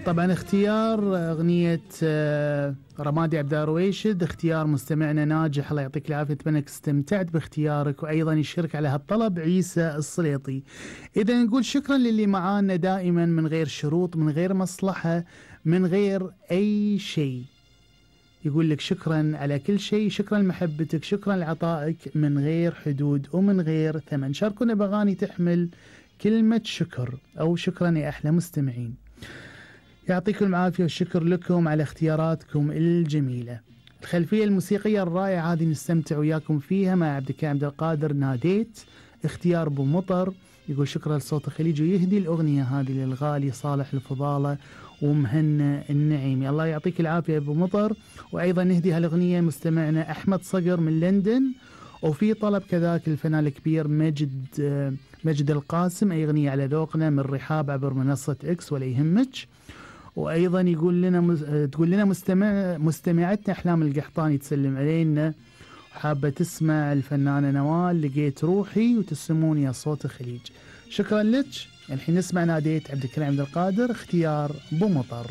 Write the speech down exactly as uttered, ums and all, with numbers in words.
طبعا اختيار أغنية رمادي عبد الرويشد اختيار مستمعنا ناجح، الله يعطيك العافية، أتمنى انك استمتعت باختيارك. وأيضا يشارك على هالطلب عيسى السليطي. إذا نقول شكرا للي معانا دائما من غير شروط، من غير مصلحة، من غير أي شيء. يقول لك شكرا على كل شيء، شكرا لمحبتك، شكرا لعطائك من غير حدود ومن غير ثمن. شاركونا بأغاني تحمل كلمة شكر أو شكرا يا أحلى مستمعين. يعطيكم العافية والشكر لكم على اختياراتكم الجميلة. الخلفية الموسيقية الرائعة هذه نستمتع وياكم فيها مع عبد الكريم عبد القادر. ناديت اختيار ابو مطر، يقول شكرا لصوت الخليج، ويهدي الأغنية هذه للغالي صالح الفضالة ومهنا النعيمي. الله يعطيك العافية ابو مطر. وأيضا نهدي هالأغنية مستمعنا أحمد صقر من لندن. وفي طلب كذاك الفنان الكبير مجد مجد القاسم، أي أغنية على ذوقنا من رحاب عبر منصة إكس ولا يهمك. وأيضا يقول لنا مز... تقول لنا مستمع مستمعتنا أحلام القحطاني تسلم علينا، حابة تسمع الفنانة نوال لقيت روحي، وتسمون يا صوت الخليج. شكرا لك. الحين نسمع ناديت عبد الكريم عبد القادر اختيار بو مطر.